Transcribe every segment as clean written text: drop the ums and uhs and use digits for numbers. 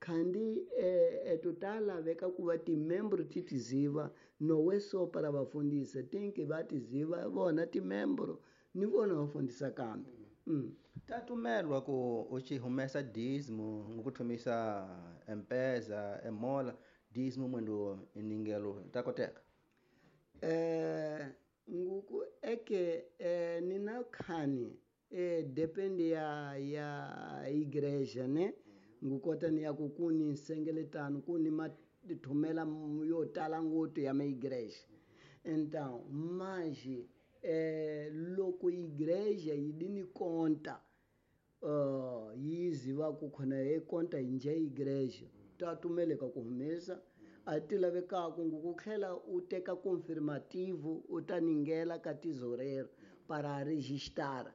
Khandi eto ta laveka ku va timembro ti tiziva nowe so para vafundhisi tinki va tiziva vona timembro ni vona vafundhisa kambe. Ta tumelwa ku u tshi humesa dízimo ngokuthomisa M-Pesa emola dízimo mwendo iningelo ta koteka. Nguku eke nina khani depende ya igreja ne ngukota ni ya ku kuni nsengeletano kuni mathumela yo tala ngopfu ya maigreja. Então manje loko igreja yi di ni conta yi ziva ku khona hi conta hi nje igreja ta tumeleka ku humesa a ti lavekaka ku tlhela u teka confirmativo u ta ningela ka tesoureiro para registrar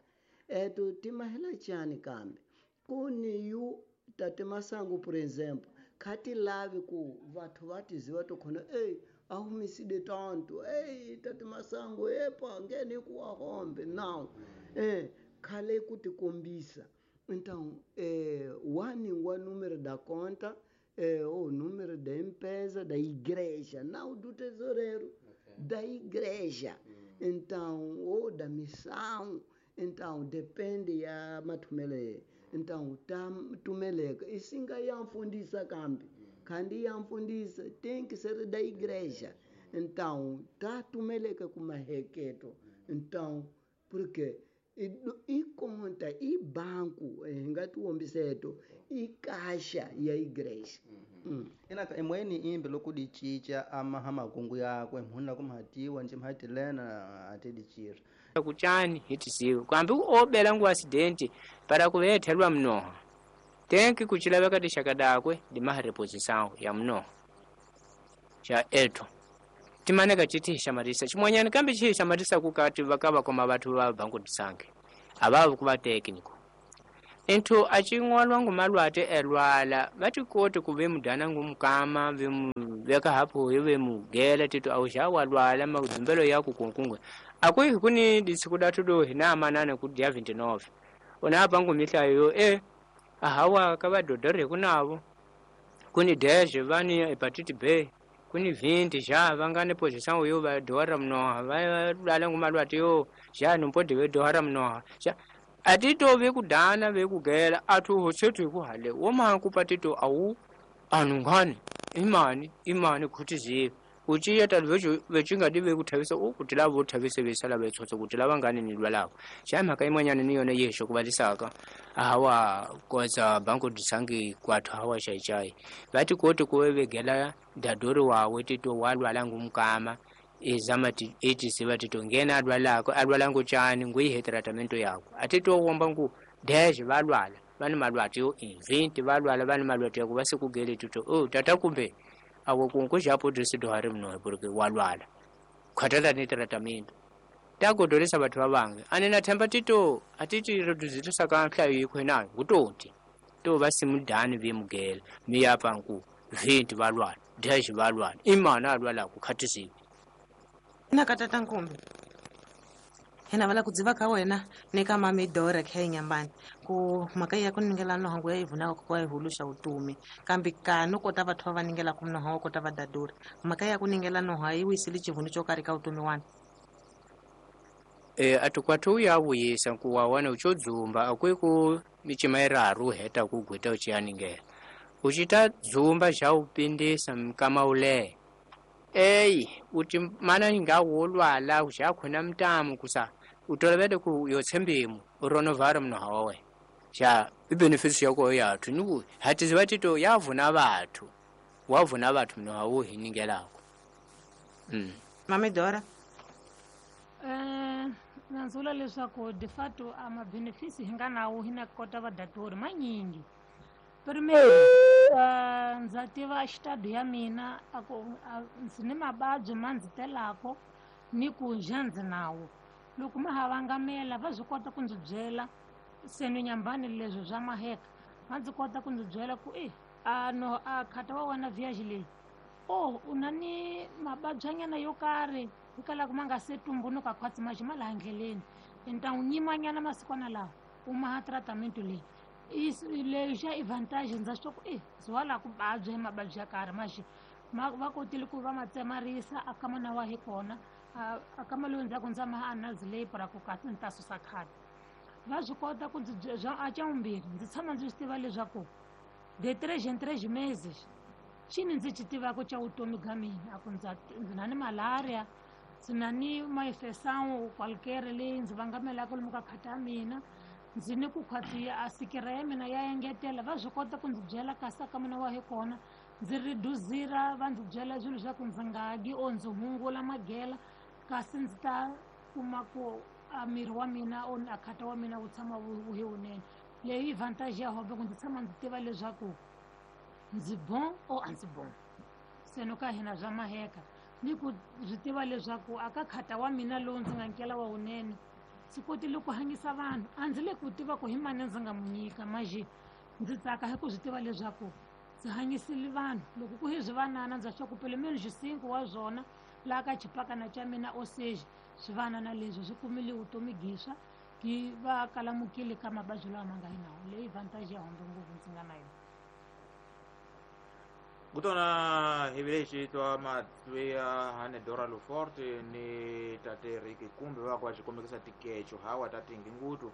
eto timahela chani kambe ku ni yu tate Masangu por exemplo kha ti lavi ku vathu va tiziva to khona ei a humisile tanto ei tate Masangu epa ngene ku wa hombe now khale ku tikombisa. Então wa número da conta o número da empresa da igreja não do tesoureiro, da igreja. Então ou da missão. Então depende ya mathumele. Então ta tumeleka isinga yamfundisa kambe khandi yamfundisa tem que ser da igreja. Então ta tumeleka kumaheketo. Então porque i conta i banco hi nga tiwombiseto i kasha ya igreja. Inaka emweni imbe loko di cinca amaha makungu yakwe mhunu la kumhatiwa nje mhatilena ate di cira kuchani hitisiwe kwambi obela ngu accident para kuvethelwa mnoha tenki kuchilaveka tixaka dakwe dimaha reposição ya mnoha xa eto timaneka citixamatisa ximwanyana kambe cixamatisa kukati vakava koma vathu va banku disange avava kuva técnico inthu acing'walwa ngu malwate elwala vatikoti ku vemudana ngu mukama vemuveka hapo vemugela tito auxa walwala madumbelo yaku kunkungwe akwihi kuni disiku datu do hina manana ku dia 29 unapa ngu mihlayo ahawa ka vadodore kunavo kuni 10 vani hepatite B kuni 20 já vangane posição yo va dohara mnoha va lwala ngu malwate yo já numpodi ve dohara mnoha já atito vekudana vekugela athu hosethu kuhale woma kupatito awu anungane imani imani khutizive uchiya tali vechingadi vekuthavisa kuti lavo thavise vesala vetsotso kuti lava ngane ni lwalako xa mhaka imwanyana ni yona yexo kuvalisaka hawa koza banko disangi kwathu hawa xaixai vati koti kuve vegela dadori wawe tito walwala ngumkama ezama etisiva tito ngena alwalako alwala nguchani nguyihe tratamento yako atito womba ngu 10 valwala vani malwati yo 20 valwala vani malwati yako vasikugele tito oh tata kumbe awo kunku japo disidohari mnohe porque walwala khatala ni tratamento tagodolesa bathu vavange ane na themba tito atiti reduzitisa ka nhlayo yikho nayo kutoti to vasimudani vemugela miyapa nku 20 valwala 10 valwala imana alwala kukhatisiwe na katata nkumbi hina vala ku dziva ka wena ni ka mamidora kha inyambani ku mhaka ya ku ningela nohangu ya ivunaka ku wa ihuluxa utumi kambe ka no kota vathu va ningela ku noha wa kota va daduri mhaka ya ku ningela noha yi wisile xivunu xo karhi ka utumi wani atukwathu ya vuyisa ku wa wana ucho dzumba akwi ku micima iraru heta ku gwita uchiyaningela uchita dzumba xa upindisa mkama ulehe eyi uti mana nga wolwala uxa khona mtamu kusa utolovele ku yotshembimu uronovara mnoha wawe xa ibenefits yako yathu niku hatiziva tito yavuna vathu wavuna vathu mnoha wo hiningelako. Mamidora nanzula leswaku de fato a mabenefisi hi nga nawo hi na kota vadatori manyingi. Primeiro, ndza tiva xitado ya mina ako ndzi ni mavabyi ma ndzi telako ni ku nja ndzi nawo loko ma ha vangamela va swi kota ku ndzi byela se ni nyambani leswi swa maheka va ndzi kota ku ndzi byela ku a no a khata wa wena viage leyi o u na ni mavabyanyana yo karhi hikwalaho ma nga se tumbunuka khwatsi maxi ma laha ndleleni ni ta n'wi nyimanyana masikwana lawa u maha tratamento leyi Lexa i vantagem ndza swi ku e ndzi wa la ku vabya hi mavabyi ya karhi maxi ma va kotile ku va ma tsemarisa a kama na wa hi kona a kama lowu ndzhaku ndza ma anazilei para ku kasi ni ta susa khadi. Va swi kota ku ndzi bya a xa vumbirhi ndzi tshama ndzi swi tiva leswaku de tres en tres meses xini ndzi xi tivaka xa vutomi bya mina, a ku ndza ndzi na ni malaria, ndzi na ni maifesawu qualquer leyi ndzi vangamelaka lomu ka khata ya mina, ndzi ni ku khwati a sikira ya mina ya engetela. Va swi kota ku ndzi byela kasi ka mina wa hi kona ndzi reduzira, va ndzi byela swilo swa ku ndzi nga dyi or ndzi hungula magela kasi ndzi ta kuma ku a miri wa mina or a khata wa mina wu tshama wu hi wunene. Leyi i vantage ya hobe ku ndzi tshama ndzi tiva leswaku ndzi bon or a ndzi bon. Se no ka hina bya maheka ni ku swi tiva leswaku a ka khata wa mina lowu ndzi nga nkela wa wunene ndzi kotile ku hanyisa vanhu. A ndzi le ku tiva ku hi mani ndzi nga mu nyika maje ndzi tsaka hi ku swi tiva leswaku ndzi hanyisile vanhu. Loko ku hi swivanana ndza swa ku pelo menos 5 wa swona laha ka xipakana xa mina ou seja swivanana leswi swi kumile vutomi giswa ki va kalamukile ka mavabyi lawa ma nga yi nawo. Leyi vantage ya hombe ngopfu ndzi nga na yona. Kutona hi vile xitwa matluya hane Dora Luforte ni tate Ricky kumbe va kwa xikomekisa tikecho hawa ta tingi ngutu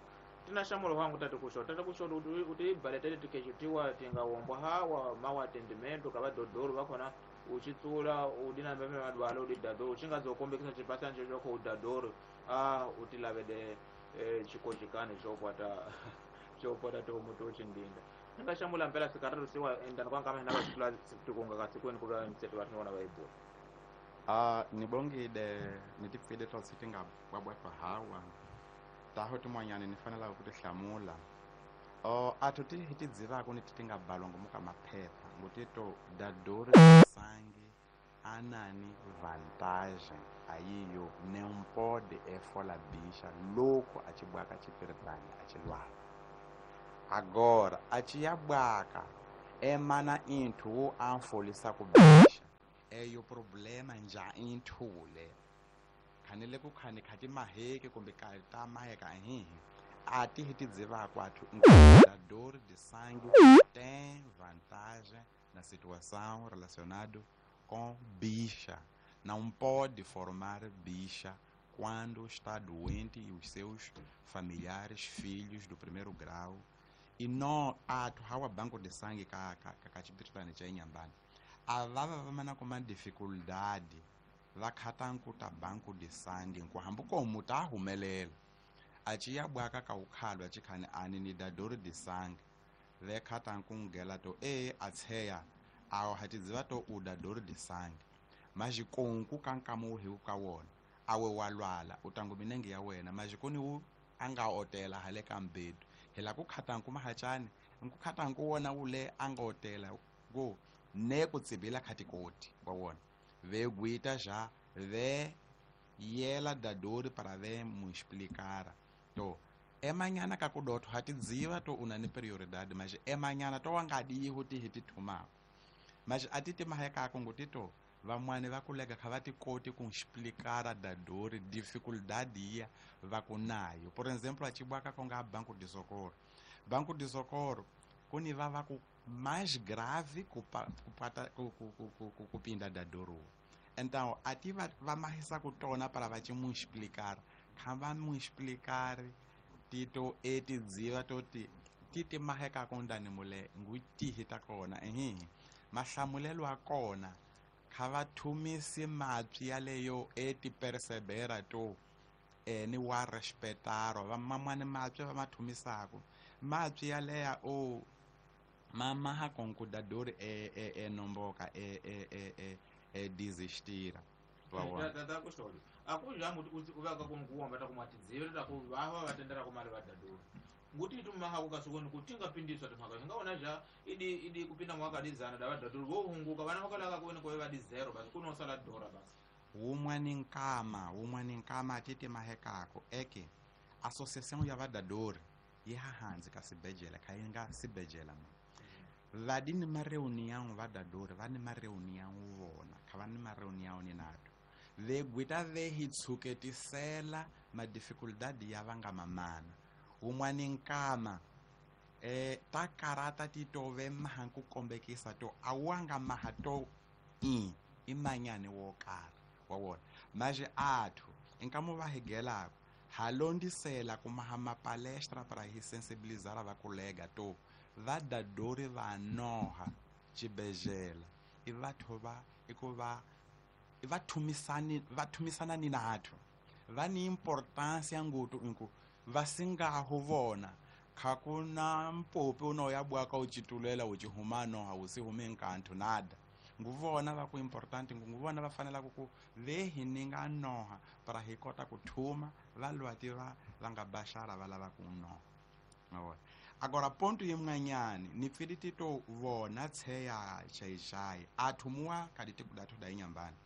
tina nhlamulo wangu tate kuxo tate kuxo u ti baletele tikecho tiwa ti nga wombwa hawa mawa tendimento ka va dodoro va kona u xi tsula u dina mbeme madwalo u di dadoro u xi nga zo kombekisa xipasana xo xo u dadoro a u ti lavele xikojikani xo kwata xo kwata tihomu to xindinda. Ni nga hlamula mpela sikarisiwa endani kwa nkama hina va xitula tikunga ka sikweni ku va mseto va vona va yi bula. Ni bongile ni ti pfile to ti nga bwabwatwa hawa taho tin'wanyani ni fanelaka ku ti hlamula. A to ti hi ti dzivaka ni ti ti nga balwa ngomu ka maphepha ngo ti to dadori sangi anani vantagem ayiyo não pode efola bicha louco a ti bwaka chipiritani a ti lwala. Agora a ti bwaka emana inthu wo anfolisa ku bicha eyo problema nja inthule khanele ku khani khati maheke kumbe ka ta maheka hihi a ti hi ti dzivaka athu dador de sangue tem vantagem na situação relacionado com bicha. Não pode formar bicha quando está doente e os seus familiares, filhos do primeiro grau. E não ato hawa banco de sangue ka ka ka chipiritani cha Inhambane. Avava vamana kuma dificuldade va khata nkuta banco de sangue nkuhambu komu ta humelela. Achiya bwaka ka ukhalwa chikhani ani ni dador de sangue. Ve khata nkungela to e atseya awo hatidziva to u dador de sangue. Majikonku kankamu hi ka wona awe walwala utangu minenge ya wena majikoni wu anga otela hale ka mbedu hela ku khatanku mahachani nku khatanku wona ule anga otela go ne ku tsibila khatikoti wa wona ve guita já ve yela dadori para ve mu explicar to emanyana ka kudotho hatidziva to una ni prioridade mas emanyana to wangadi huti hitithuma mas atiti maheka kungutito vamwani va kulega kha va ti koti ku explicar dadori dificuldade ya va ku nayo. Por exemplo, a tibwaka konga Banco de Socorro. Banco de Socorro kuni va va ku mais grave ku pinda dadoro. Então ati va mahisa ku tona para va mu explicar. Kha va mu explicar tito eti dziva to ti titi maheka kondani mule ngutihi ta kona ehi mahlamulelo a kona kha va thumisi mapyi yaleyo e ti persebera to ni wa respetaro va mamani mapyi va mathumisako mapyi yaleya o mama ha konkudadori e nomboka e desistira va wona tata kuxolo a ku jangu u va ka ku nguwa ta ku matidzivela ta ku va va tendera ku mali va dadori nguti tumaha ku kasukoni ku tinga pindiswa timhaka nga wona ja idi kupinda mwaka dizana da va dadori vo hunguka vana va kalaka ku wena ku va di zero basi ku no sala dora basi. Wun'wani nkama titi mahekako eke associação ya vadadori yi hahanzi ka sibejela kha yi nga sibejela ma vadi ni mareunião vadadori va ni mareunião vona kha va ni mareunião ni nato ve gwita ve hi tshuketisela madificuldade ya va nga mamana. Wun'wani nkama Ta karata ti tove maha ku kombekisa to awanga maha to i manyane wo karhi wa wona maje athu nkamo va higelako halondisela ku maha mapalestra para hi sensibilizar va kolega to va dadori va noha xibedhlele i vathu va i ku va i va thumisani va thumisana ni nathu va ni importancia ngutu inku va singaho vona khakuna mpopi uno ya bwaka uchitulela uchihumano hausi nkantu nada nguvona va ku important nguvona va fanela ku ve hi ninga noha para hi kota ku thuma va lwati va va nga baxara va lava ku noha mavona. Agora ponto yimwanyani ni pfiliti to vona tsheya chaishai athumua kaditi kudatu da inyambani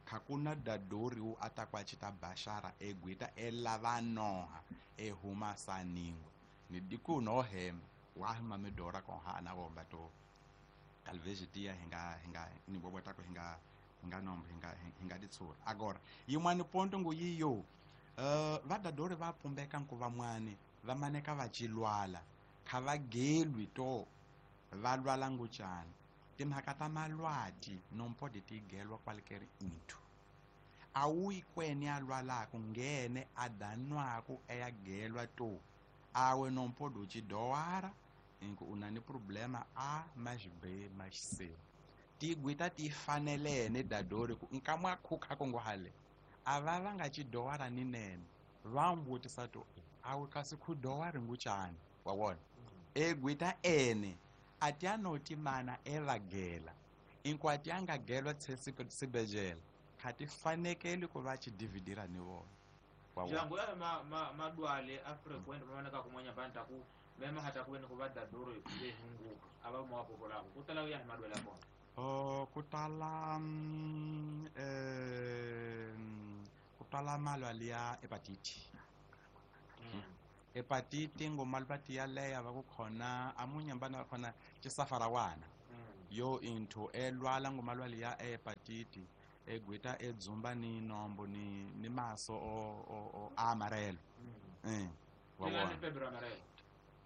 khakuna dadori u atakwa chita bashara egwita elava noha ehuma saningwe ni diku no hema wahima medora ko ha na bomba to talvez dia hinga hinga ni bobota ko hinga hinga nombo hinga hinga ditsura. Agora yimwani ponto ngu yiyo vadadori va pumbeka nku vamwani va maneka va chilwala kha va gelwi to va lwala nguchani timhaka ta malwati nompode ti gelwa qualquer into awuyi kweni a lwalako ngene a danwaku eya gelwa to awe nompode uchidowara inku unani problema A mais B mais C tigwita ti fanelene dadori ku nkamwa khukha kongo hale ava va nga chidowara ni nene va mbutisa to awe kasi khudowari nguchani wa wona egwita ene atianoti mana evagela inku atianga gelwa tsesibejela khati fanekeli ku va chidividira ni vona wa wona jangu ya madwale a frequent mamaneka kumwanya banta ku mema hata kuweni ku va dadori lehungu ava mwapokolako kutala ya madwale akona kutala kutala malwale ya hepatite. Hepatite ngomalwati ya leya va ku khona amunyambana va khona chisafarawana yo into elwala ngomalwale ya hepatite egwita edzumba ni nombo ni maso o amarelo wa wona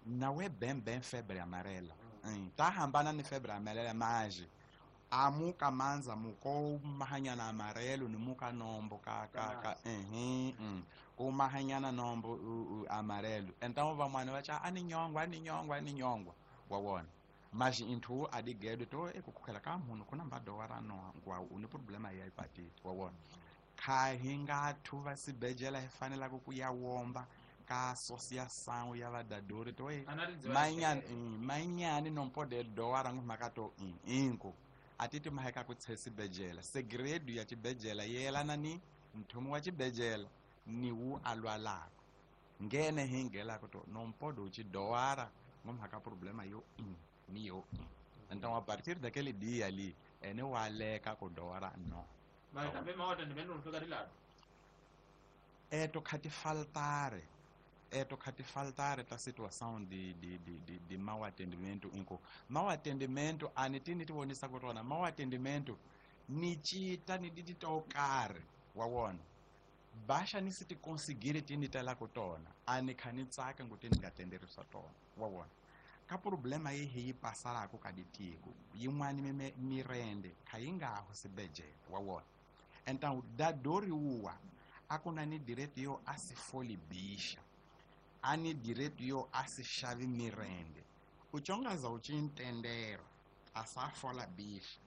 nawe bem febre amarela ta hambana ni febre amarela maje amuka manza muko mahanyana amarelo ni muka nombo ka ka ka ku mahanyana nombo amarelo então vamwana va cha ani nyongwa ani nyongwa ani nyongwa wa wona mas into adigedo to ekukhukhela ka munhu kuna mbadowara no ngwa uni problema ya hepatite wa wona kha hi nga thuva sibejela hi fanelaka ku ya womba ka associação ya vadadori to manyani manyani non pode dowara ngumhaka to inko atiti maheka ku tsesibejela segredo ya chibejela yelana ni mthumu wa chibejela ni wu alwalako ngene hingelako to non pode uchidowara ngumhaka problema yo ni yo então a partir daquele dia ali ene waleka ku dowara no mas também maota ni menu fika rilado eto khati faltare ta situação de mau atendimento inko mau atendimento anitini tivonisa ku tona mau atendimento ni chita ni didi to karhi wa wona baxa ni si ti conseguire tini tela ku tona ani kha ni tsaka ngu ti ni nga tenderisa tona wa wona ka problema yi hi yi pasarako ka ditiko yin'wani mirende kha yi nga ho sibejele wa wona então dadori wuwa a ku na ni direito yo a si foli bixa ani direito yo a si xavi mirende uchongaza uchintendera a sa fola bixa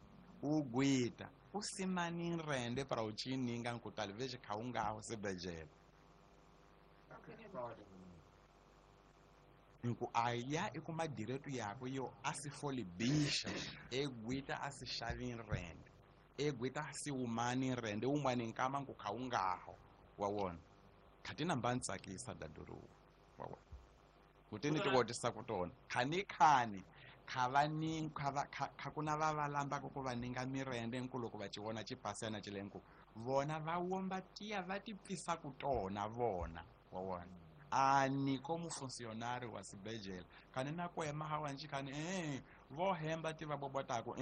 ugwita u simani nrende para uchininga nku talvez kha u nga ho sibejele nku aya i kuma direito yakwe yo a si foli bixa egwita a si xavi nrende egwita a si wumani nrende wun'wani nkama nku kha u nga ho wa wona kha ti namba ni tsakisa dadori wa wona kutini ti votisa ku tona khani khani kha va ni kha va kha ku na va va lambaka ku va ninga mirende nku loko va ci vona ci pasana ci lenku vona va womba tiya va ti pfisa ku tona vona wa wona ani como funcionário wa sibejela khani na kwema hawanji khani vo hemba ti va bobotako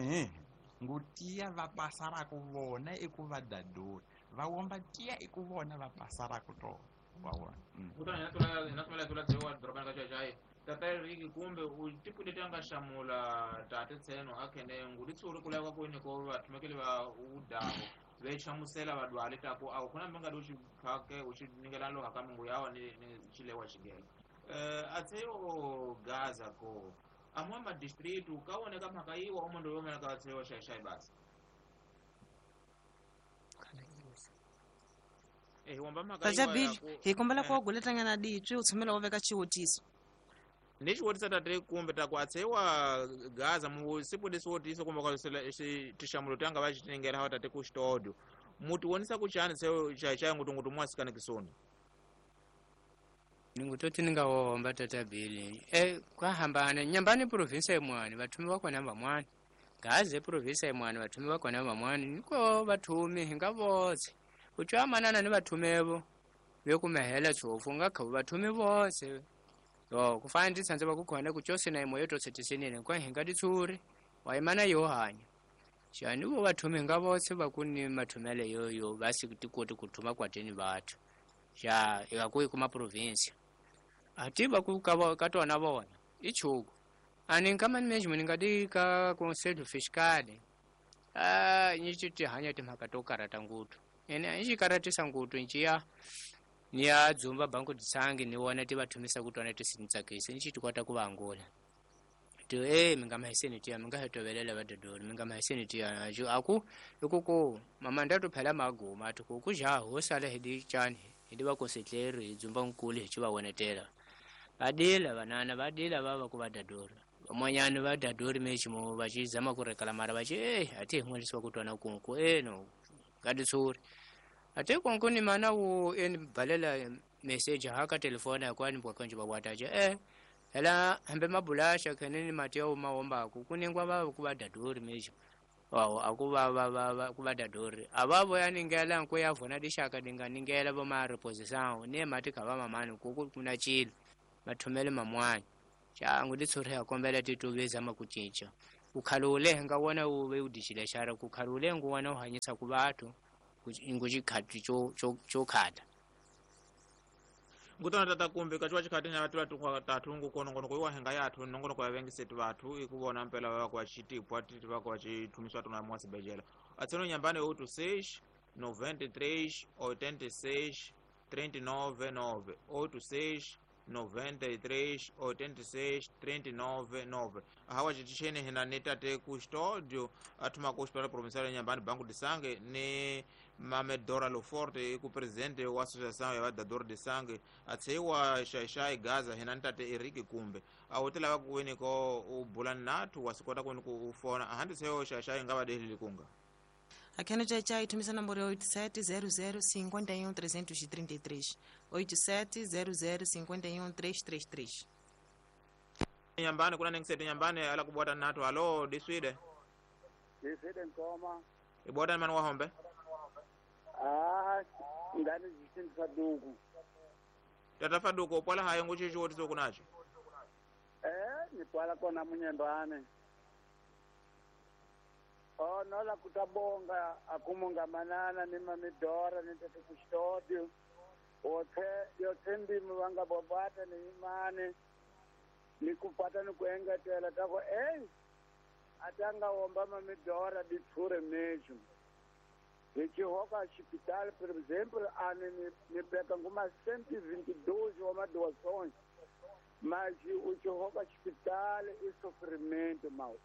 ngutiya va pasarako vona i ku va dadori va womba tiya i ku vona va pasarako tona wa wona kutani na tula na tula tula dzewa dorobani ka Xai-Xai Tata Eriki kumbe u tipule tanga xamula tate tseno akhene ngudi tsuri kulava kwini ko vathumekeli va udaho vechamusela vadwali tako awu kuna mbinga do xiphake u xi ningela loha ka mingu yawa ni xilewa xigela atseyo Gaza ko amwe ma district ka woneka mhaka yiwa omondo yomena ka atseyo xaxai basi Tata Bill hi kombela ku guletanyana ditswi u tshumela u veka xiwutiso ni xiwutiso tate kumbe ta ku atsewa Gaza mu siku lesi wotiso kumbe ka tixamulo tanga va xitiningela hawa tate ku xitodo muti wonisa ku chani seo xaxai ngutungutu mwasikana kisoni ningutoti ningawomba Tata Bill kwahambana nyambani province imwani vathumi vakona vamwani Gaza province imwani vathumi vakona vamwani niko vathumi hinga votse utswamanana ni vathumevo vekumehela tshofu nga khavu vathumi votse yo kufana ndi tsandza vakukhona kutyose na imo yotosetisenene kwa hinga titsuri waimana yo hanya xani vo vathumi hinga votse vakuni mathumele yoyo vasi tikoti kuthuma kwateni vathu xa ikakuyi kuma province ati vaku ka tona vona i chuku ani nka management nga di ka conselho fiscal nyici ti hanya timhaka to karata ngutu ene i xikaratisa ngutu nciya ni ya dzumba banku titsangi ni wona ti vathumisa ku tona ti sintsakisi ni xi ti kota ku va angula ti mi nga mahiseni tiya mi nga he tovelela vadodori mi nga mahiseni tiya aku ikuku mamandatu phela maguma ati ku kuja ho sala hi di chani hi di va konsetleri hi dzumba nkulu hi ci va wonetela vadila vanana vadila vava ku vadadori van'wanyani vadadori meximo va ci zama ku rekala mara va ci ati hi n'welisiwa ku twana kunku no ka titshuri ate konko ni mana wo eni balela message haka telefona kwani bwakonje babwataje hela hambe mabulasha khene ni mati ya maombaku kuningwa va ku vadadori mexo wawo akuva va ku vadadori avavo ya ningela nko ya vona dixaka dinga ningela vo ma reposição ne mati kha va mamani ku kuna chilo mathomele mamwani xangu titshuri ya kombela tituve zama ku cinca ukhalule nga wona u ve u dixile xara ku khalule ngu wona u hanyisa ku vathu ngu xikhati xo khata ngutona tata kumbe kaciwa xikhati na vatu vatu tathu ngu konongonoko iwa henga yathu nongonoko ya vengiseti vathu i ku vona mpela va ku va xitipwa titi va ku va xithumiswa tona mwa sibejela atseno nyambani 86 93 86 39 9 86 93 86 39 9 hawa xitixeni hina ni tate ku xitodio athuma ku xipela provincial ya Nyambani Banku Disange ni Mame Dora Loforte ku presidente wa associação ya vadadori Disange atseiwa Xaixai Gaza hina ni tate Eriki kumbe awu ti lava ku wini ko u bula nathu wa swi kota ku wini ku u fona ahandi seyo Xaixai nga va delili kunga Akheno Tchai thumisa nomboro ya 87 00 51 333 87 00 51 333 Nyambani kuna ningisete Nyambani ala kubwata nathu halo diswide diswide nkoma ibwata mani wahombe ngani zisindisa faduku tata faduku upwala hayo nguchichi wotiso kunacho nipwala kona munyembane nola kutabonga akumungamanana ni mamidora ni tete kushitodio othe yothe ndimi vangabobata ni imane nikupata nikuengetela tako atanga womba mamidora ditshure meju hichihoka xipitali por exemplo ani ni peka nguma 122 wa madoações mas uchihoka xipitali i sofrimento mau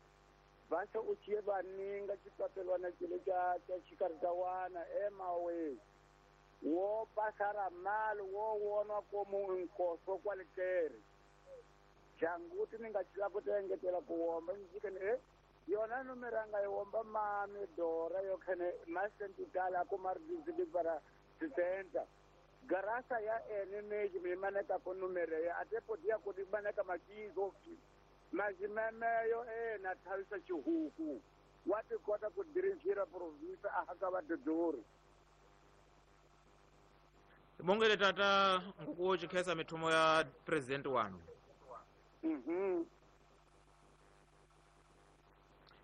vaxa u chiye vaninga xipapelwana xilo xa xikaritawana emawe wo pasara mali wo wonwa komu nkoso kwalekere janguti ni nga xila ku engetela ku womba njikeni yona numero nga yi womba mami dora yo khene masentitala ku maridizili para 70 garasa ya ene meji mi maneka ku numero ya ate podia ku di maneka makizo majimemeyo na thavisa xihuku wa ti kota ku dirigir province a haka vadodori bongele tata nguku xikhesa mithumo ya president wanu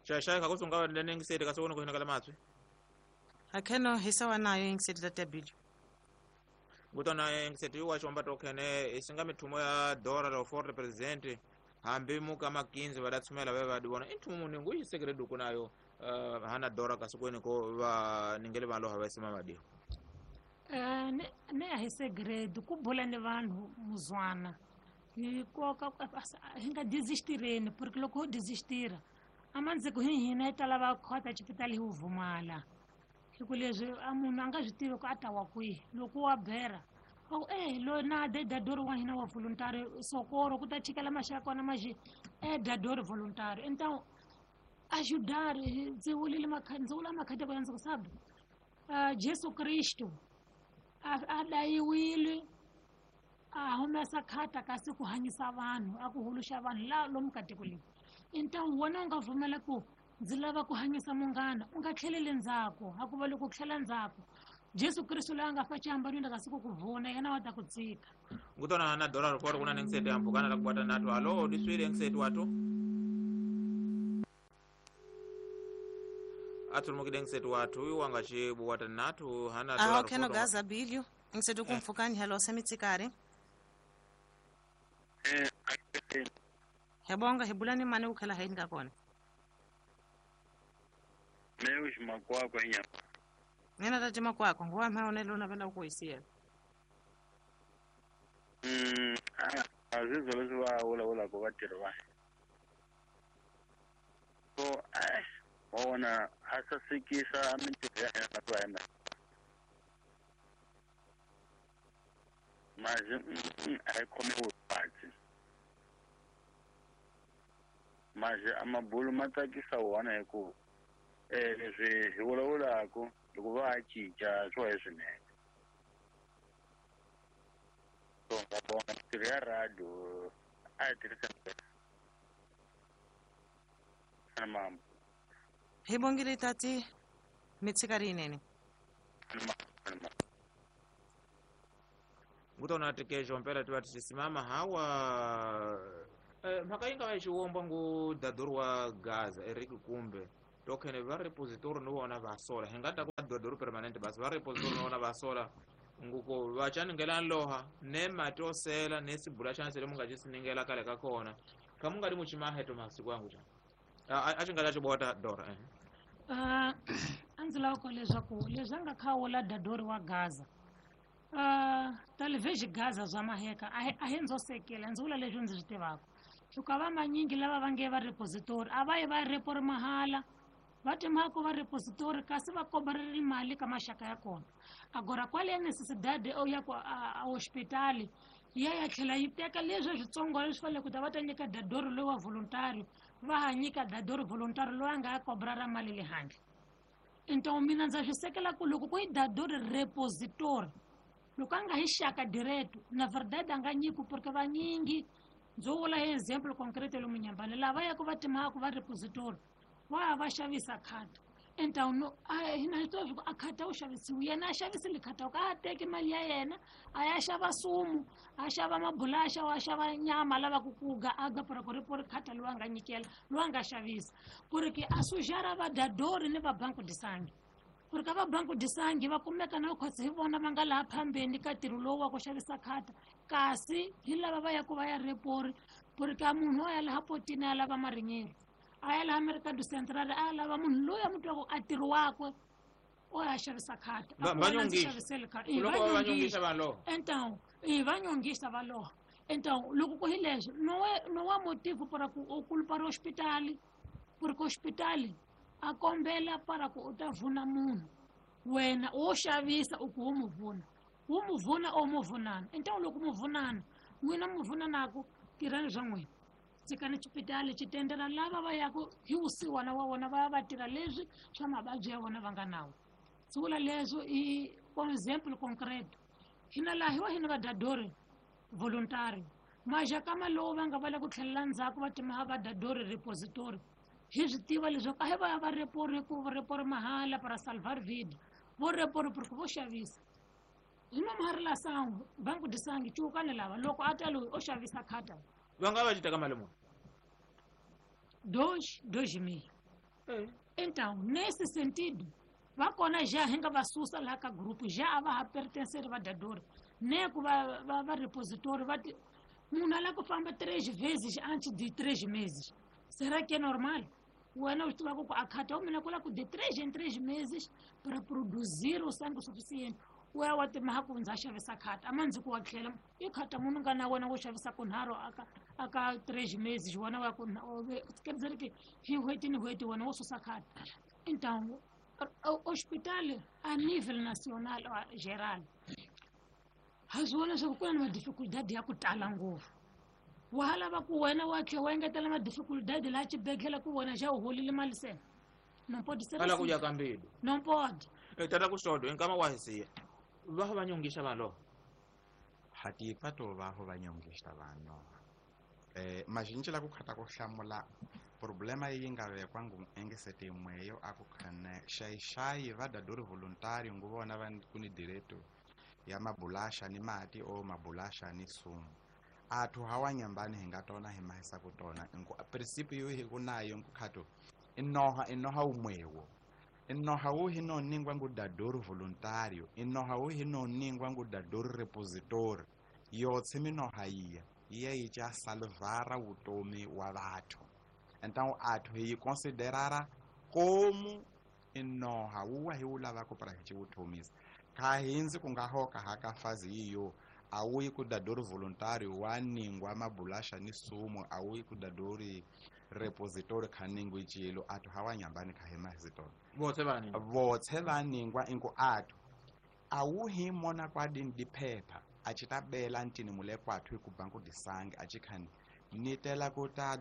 Xaixai kha kusunga lenengiseti kasi wona ku hinakala matswi akheno hisawa nayo ingiseti tata Bill Ngutona ngiseti wa xomba tokhene isinga mithumo ya Dora lo for represent hambi muka makinzi va tshumela va va di vona i nthumo muni ngu yi sekere duku nayo hana Dora kasikweni ko va ningele vanhu lava va sima madiho. Ne a hi segredo ku bula ni vanhu muzwana hi koka hi nga desistireni porque loko ho desistira a mandziko hi hina hi ta lava khota xipitali hi wu vumala hi ku leswi a munhu a nga swi tivi ku a ta wa kwihi loko wa bera va ku loyi na de dadori wa hina wa voluntary sokoro ku ta chikela maxaka kona maxi dadori voluntary então ajudar ndzi vulile ndzi vula makhadi ya ndzi ku sabe Jesu Kristo a dayiwile a humesa khata kasi ku hanyisa vanhu a ku huluxa vanhu la lomu ka tiko leri então wena u nga pfumela ku ndzi lava ku hanyisa munghana u nga tlheleli ndzhaku hakuva loko u tlhela ndzhaku Jesu Kristo loyi a nga fa xihambanweni kasi ku ku vuna yena wa ta ku tsika. Ngutona na Dora riporo kuna nengisete ya mpfukana la kubata natu alo diswile ngisete watu atulumukile ngisete watu uyu wanga chibu wata natu hana Dora aho kheno gaza bilio ngisete kumfukani hello semitsikari Hebonga hebulani mane ukhela haini ka kona. Meus makwakwa nya. Nena tati makwakwa nguwa maone lona vela ukuisiya. Azizo leswi va vulavulaka vatirhi va. So wa vona a sasekisa mintirho ya hina va hina. Mazi a yi khomiwi vuvabyi. Mazi a mabulu ma tsakisa wona hi ku leswi hi vulavulaka loko va cinca swo hi swinene. So nga vona mintirho ya radio a yi tirhisa mambo. Hi bongile tati mitsikari yinene. Ngutona tikejo mpela tiva tisimama hawa mhaka yi nga va yi xiwomba ngu dadori wa Gaza Eric Kumbe tokhene va repository ni vona va sola hi nga ta ku dadori permanent basi va repository ni vona va sola nguko va chaningela loha ne mati osela ne sibula xa nsele mu nga xi siningela kale ka kona kha mu nga li muchimaheto masiku yangu xa a xi nga ta xibota Dora a ndzi lava ku leswaku leswi a nga khawula dadori wa Gaza talvez Gaza zwa maheka a hi ndzo sekela ndzi vula leswi ndzi swi tivaka hikuva va manyingi lava va nge va repository a va yi va repori mahala va timhaka va repository kasi va kobarele mali ka maxaka ya kona agora kwale ya necessidade ya ku a hospitali ya ya tlhela yi teka leswi switsongo leswi fanele ku ta va ta nyika dadori loyi wa voluntary va ha nyika dadori voluntary loyi a nga ya kobrara mali le handle então mina ndza swi sekela ku loko ku yi dadori repository loko a nga hi xaka direto na verdade a nga nyiki porque vanyingi ndzo vula hi example concrete lomu Nyambani lava yaka va timhaka va repository va ya va xavisa khata então no hina hi tiva swa ku a khata wu xavisiwi yena a xavisile khata ku a teki mali ya yena a ya xava sumu a xava mabulaxa a xava nyama lavaku ku ga aga para ku ripori khata loyi a nga nyikela loyi a nga xavisa ku ri ke a sujara va dadori ni va banco de sangue ku ri ka va banco de sangue va kumeka na khotsi hi vona va nga laha phambeni ka ntirho lowu wa ku xavisa khata kasi hi lava va yaku va ya repori ku ri ka munhu a ya laha potini a lava marinyeri a ya laha Mercado Central a lava munhu loyi a mu twaku a ntirho wakwe o ya xavisa khata então va nyongisa va loha então loko ku hi leswi no wa motivo para ku u kulupara hospitali porque hospitali a kombela para ku u ta vuna munhu wena wo xavisa u ku wu mu vuna wu mu vuna o mu vunana então loko mu vunana n'wina mu vunanaku tirhani swa n'wina tshikani xipitali xi tendela lava va yaku hi vusiwana wa vona va ya va tirha leswi swa mavabyi ya vona va nga nawo ndzi vula leswo i example concreto hina laha hi wa hina va dadori voluntary maxakama lowu va nga va le ku tlhelela ndzhaku va timaha va dadori repository hi swi tiva leswaku a hi va ya va repori ku repori mahala para salvar vida vo repori porque vo xavisa hi nomuhari la sangu banku di sangi cuukani lava loko a ta loyi o xavisa khata va nga va xi teka mali muni 2,000. Então nesse sentido va kona já hi nga va susa laha ka group já a va ha pertencer va dadori Ne ku va repositori va ti munhu a lava ku famba 3 vezes antes de 3 meses. Será que é normal? Wena u swi tivaka ku a khata wa mina ku lava ku de 3 em 3 meses para produzir o sangue suficiente. U ya wa timaha ku ndza xavisa khata a ma ndzi ku wa tlhela i khata munhu nga na wena wo xavisa kunharhu aka 3 meses wena wa ku quer dizer que hi n'hweti ni n'hweti wena wo susa khata. Então hospital a nível nacional geral ha swi vona leswaku ku na ni madificultad ya ku tala ngopfu. Wa ha lava ku wena wa tlhela wa engetela madificultad laha xibedhlele ku wena xa u holile mali se. Não pode ser Ala ku assim. ya ka mbilu. Não pode. Tata Kuxodo nkama wa hi siya va va nyongisa vanhu lava. Hatipa to va va nyongisa vanhu. Mazhinji la ku khata ku hlamula problema yi nga vekwa ngu engesete mweyo a ku khane xayi va dadori voluntary ngu vona va ku ni direto ya mabulasha ni mati o mabulasha ni sumu. Athu hawa nyambani hi nga tona hi mahisa ku tona ngu principe yo hi ku nayo ngu khato inoha umwewo. Inoha wu hi no ningwa ngu dadori voluntario, inoha wu hi no ningwa ngu dadori repositori. Yotse minoha iya iya yi cha salvara vutomi wa vathu. Então athu hi considerara como inoha wu wa hi wu lavaka para hi vutomisa. Kha hindzi ku nga hoka haka fazi iyo a wu yi ku dadori voluntario wa ningwa mabulasha ni sumu, a wu yi ku dadori repositori kha ningwi cilo athu hawa nyambani kha hi mahizitona. Votse va ningwa. Votse va ningwa ingu athu a wu hi mona kwa dini diphepha a ci ta bela ntini mule kwathu hi ku banku disangi a ci khani ni tela ku ta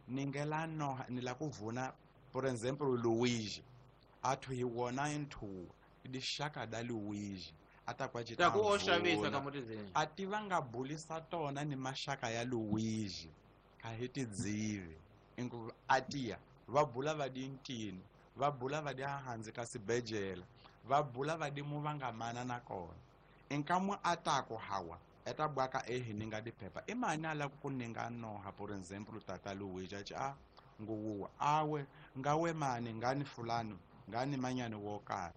ningela noha ni la ku vuna por exemplo Luigi athu hi wona inthu dixaka da Luigi a ta kwa ci Ta ku o vuna. xavisa ka mutizini. A ti va nga bulisa tona ni maxaka ya Luigi kha hi tidzivi ingu a tiya va bula va di ntini va bula va di hansi ka sibejela va bula va di mu va nga mana na kona. Nkamu a ta ku hawa eta bwaka ehi ninga diphepha i mani a lava ku ninga noha por exemple tata Luigi a ci a nguwuwa awe ngawe mani ngani fulani ngani manyani wo karhi.